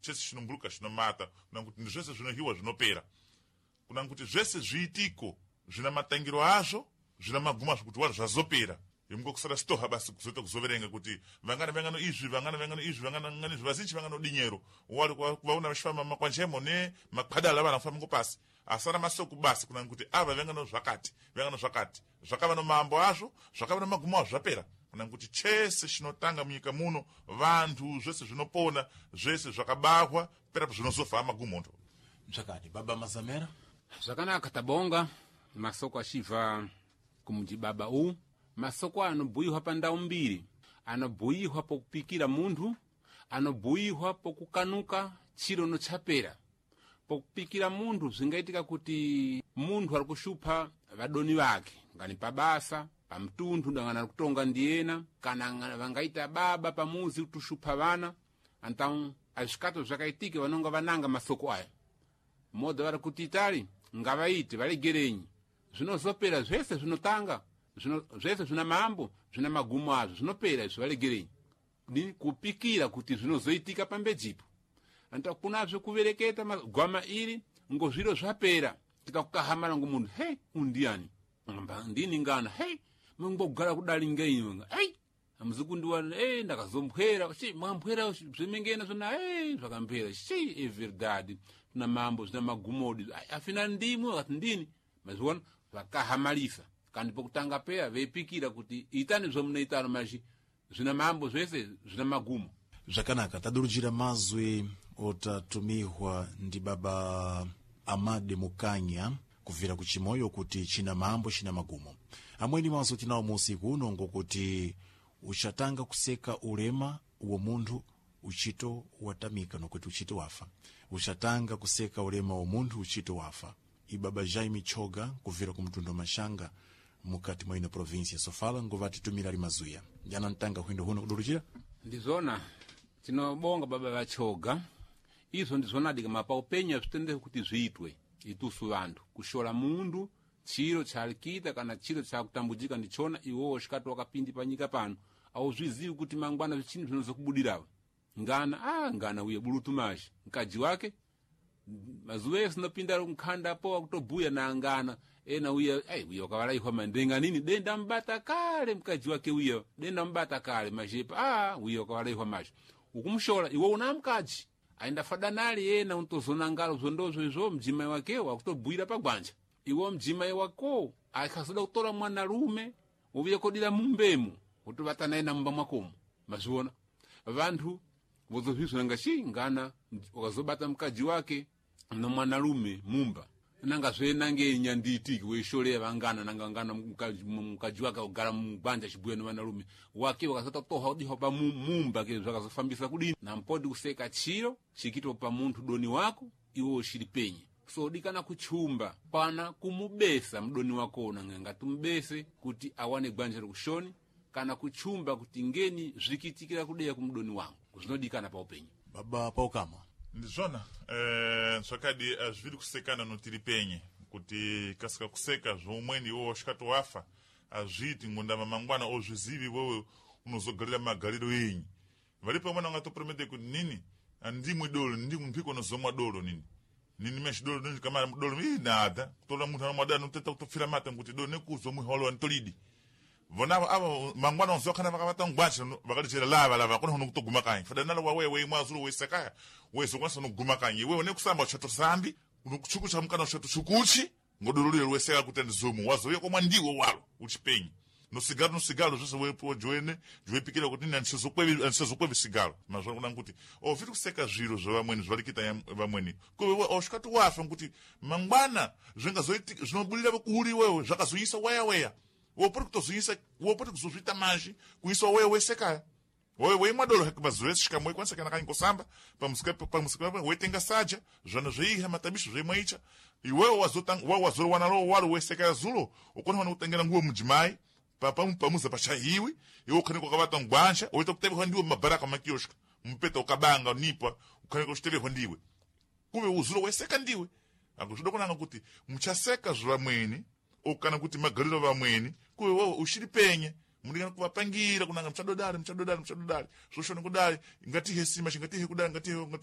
Chese chinombuluka chinomata, kuna kuti ndi zvese zvinohiwa zvinopera, kuna kuti zvese zviitiko zvina matangiro azvo, zvina magumo azvo, kuti wari zvazopera. Imungo kusara sitoha basi kuzoita kuzoverenga kuti vangana vangano izvi, vangana vangano izvi, vangana vangano izvi, vazinji vangano dinyero wali kuvaona vachifamba makwanjemo ne makhwadala vana kufamba ngopasi asara masoko basi, kuna kuti ava vangano zvakati, vangano zvakati, zvakava no mambo azvo, zvakava no magumo azvo, zvapera. Kuna kuti chese chinotanga munyika muno, vantu zvese zvinopona, zvese zvakabahwa, perapo zvinozofa magumo ndo. Mchakadi baba Mazamera. Zvakanaka, tabonga masoko achibva kumujibaba uwu. Masoko anobhuyiwa pa ndau mbiri: anobhuyiwa pokupikira munthu, anobhuyiwa pokukanuka chiro nochapera. Pokupikira munthu, zvingaitika kuti munthu ari kushupha vadoni vake ngani pabasa, pamtunthu, dangana ari kutonga ndiyena, kana vangaita baba pamuzi kutushupha vana. Então azvikato zvakaitika, vanonga vananga masoko aya modha vari kuti itali ngavaite valegerenyi, zvinozopera zvese zvinotanga zvino, zvese zvina mambo, zvina magumo azvo, zvinopera izvo, valegerenyi. Ni kupikira kuti zvinozoitika pambejipo. Anta kunazve kuvereketa gwama iri ngo zviro zvapera, tikakukahamala ngo munthu, hei, undiani amba ndini ngana, hei, mangogara kudali ngeinyi, ei, amuzikundiwana, ei, ndakazomphwera chi mwamphwera zvimengena zvona, ei, zvakamphera chi é verdade, zvina mambo, zvina magumodi. Ai, afina ndimwe akati ndini mazviona zvakahamalisa kandi pokutanga peya veipikira kuti itani zvomunoitano maji zvina mambo, zvese zvina magumo. Zvakanaka, tadurujira mazwi otatumihwa ndi baba Amade Mukanya kubvira kuchimoyo kuti china mambo china magumo. Amweni mazwi tinawo muusiku uno ngokuti uchatanga kuseka ulema wo munthu uchito watamika, nokuti uchito wafa. Uchatanga kuseka ulema wa munthu uchito wafa. Ibaba Jaime Choga kubvira ku mtundu Mashanga mukati mwa ino província Sofala ngovatitumira ali mazuya ndiana ntanga hwindo huno kudurujira. Ndizvona, tinobonga baba vachoga. Izvo ndizvonadi kama paupenyu azvitendere kuti zviitwe itusu vanthu kushola mundu chiro chalikita kana chiro chakutambujika ndichona. Iwowo xikati wakapindi panyika pano, auzvizivi kuti mangwana zvichini zvinozokubudirawo. Ngana ngana uye bulutu maji mkaji wake mazuva ese nopinda nkhanda po akutobhuya na ngana ena uye, ai, uye wakavalaihwa mandenga nini denda mbata kale mkaji wake uye denda mbata kale majepa, uye wakavalaihwa maji ukumshola iwe una mkaji aenda fadanali yena untozona ngalo zvondozvo izvo mjimai wake wakutobhuira pagwanja. Iwe mjimai wako akazoda kutora mwanalume uvuye kodira mumbemu utovata naye na mumba mwakomo, mazviona vanthu vozozvizwa nanga chi ngana wakazobata mkaji wake no mwanalume mumba nanga zvenange nyanditiki weisholea vangana nanga ngana mkaji wake akugara mugwanja chibuya no vanalume wake wakasata kutoha kudiha pa mumba ke zvakazofambisa kudini. Nampodi kuseka chiro chikitwa pa munthu doni wako iwe ushiri penye, so dikana kuchumba pana kumubesa mdoni wako nanga ngatumubese kuti awane gwanja lokushoni, kana kuchumba kuti ngeni zvikitikira kudeya kumudoni wangu, zvinodikana pa upenyu. Baba Paukama. Ndizvona, zvakadi azviri kusekana notiri penye kuti kasika kuseka zvoumweni iwewe wasvikati wafa azviiti ngondama mangwana ozvizivi wewe unozogarira magariro enyi. Varipo amweni angatopromete kuti nini andimwi dolo, ndimwi mphiko nozomwa dolo, nini meshi dolo nini kama dolo ii nada kutola munthu anomwa noteta kutopfira mata kuti dolo nekuzomwiha walo antolidi vonavo ava mangwana onzokhana vakavata ngwacha vakalichera lava lava kona hono kutoguma kanyi fadanala wawe weimwa azulu wesekaya wezokwanisa noguma kanyi iwewe nekusamba uchato sambi unokuchukucha mukana uchato chukuchi ngodololero weseka kuti andizomu wazouya komwa ndiwe walo uchipenyi nosigalo nosigalo zvese wepo joene joepikira kuti nini andisazokwevi sigalo mazvona kuna kuti oviri kuseka zviro zvevamweni zvalikita vamweni kuve osvikati wafa nkuti mangwana zvingazoitika zvinobudira kuri iwewe zvakazoyisa weya weya wopoti kutozoyisa, wopoti kuzozviita manji kuisa wewe wesekaya wewe weimwa dolo mazuva ese shikamwe kwanisa kana kanyi kusamba pamusika pamusika wetenga saja zvana zveiha matabisho zveimwaicha iwewe wazotanga wawe wazorowana lo walo wesekaya zulo ukona wana kutengera nguo mujimai pamuza pachahiwi iwe ukhanika ukavata ngwanja woita kutevehwa ndiwe mumabaraka makioshka mupeta ukabanga nipa ukhanika uchitevehwa ndiwe kuve uzulo weseka ndiwe akuzvida kunanga kuti muchaseka zvavamweni okana kuti magariro vamweni kuve wewe ushiri penye mudikana kuvapangira kunanga muchadodari muchadodari muchadodari zvoshoni kudari ngatihe sima chingatihe kudari ngatihe ngatihe.